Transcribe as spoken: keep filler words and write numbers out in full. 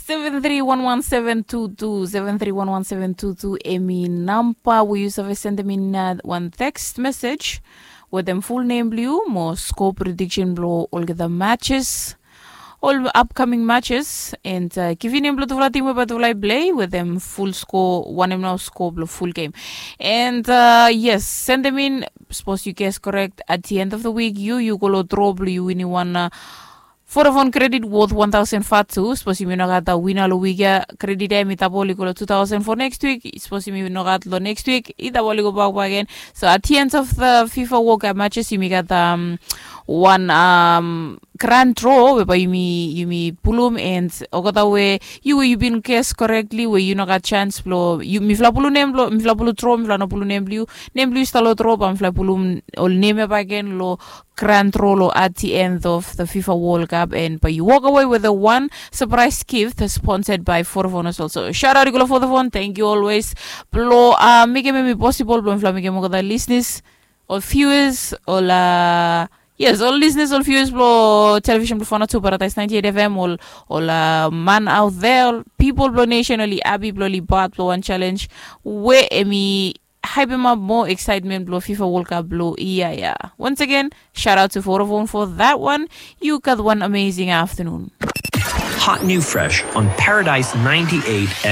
Seven three one one seven two two, seven three one one seven two two, emi namba we yu save sendem in wan text mesej wetem ful nem blong yu mo sko prediksen blong olgeta matches, ol apkaming matches, and givim nem blong tufala tim we bae tufala i plei wetem ful sko, wanem nao sko blong ful gem. And yes, sendem in. Sapos yu ges korek, at the end of the week yu yu go long dro blong yu winim wan Vodafone kredit wot wan taosen fatu. Sapos yumi no gat wina long wik ya, kredit ya yumi tabol i go long tu taosen fo neks wik. Sapos yumi no gat long neks wik, i tabol i go bak bak gen. So at the end of the fifa wok matches yumi gat wan grand dro we bae yumi pulum, and olgeta we yu we yu bin ges korekli we yu no gat sens blong mifala pulum nem blong mifala pulum dro, mifala no pulum nem blong yu, nem blong yu stap long dro, bae mifala pulum ol nem ya bak gen long grand dro long at the end of the fifa world cup, and bae yu wokawe with a one surprise gift sponsored by Vodafone as well. So shout out i go long Vodafone, thank you always blong mekem em i posibol blong mifala mekem olgeta listeners, ol viewers, ol yes, ol listeners, ol viewers blong television blong Fana tu, Paradise ninety-eight F M, ol ol man out there, ol people blong nation, oli happy blong oli part blong wan challenge we emi hype em up more excitement blong fifa world cup blong ia ya. Once again, shout out to Vodafone for that one. You got one amazing afternoon. Hot new fresh on Paradise ninety-eight